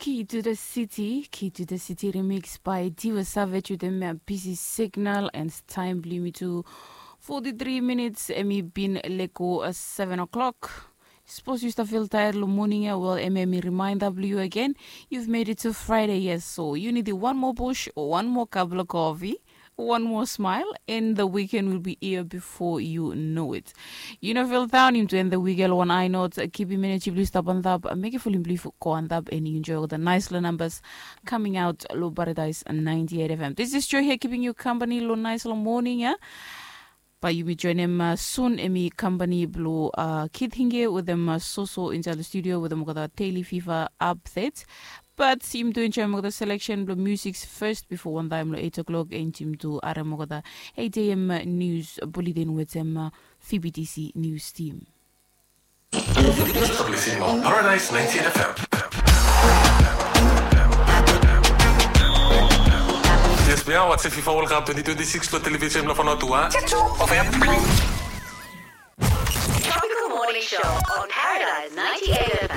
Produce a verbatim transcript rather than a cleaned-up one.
Key to the City, Key to the City remix by Diva Savage with him uh, busy signal and time bli mi tu forty-three minutes emi bin leko uh, seven o'clock. Suppose you start feel tired lo morning uh, well emi emi reminder bli you again. You've made it to Friday, yes, so you need one more push, one more cup of coffee, one more smile, and the weekend will be here before you know it. You know, Phil Town, him to end the weekend one eye note, keep him energy blue stop on top, make it full in blue for go on top, and you enjoy all the nice little numbers coming out, Low Paradise ninety-eight F M. This is Joy here, keeping you company, Low Nice Low Morning, yeah? But you may join him uh, soon, Emi company blue uh, Kid Hinge with them uh, so so inside the studio with them got a daily fever update. But him to enjoy the selection blue music first before one time eight o'clock and him to arem got a eight a.m. news bulletin with them uh, V B T C news team. Paradise ninety-eight F M. Yes, we are watching FIFA World Cup twenty twenty-six lo television lo Fanotua. Tropical Morning Show on Paradise ninety-eight F M.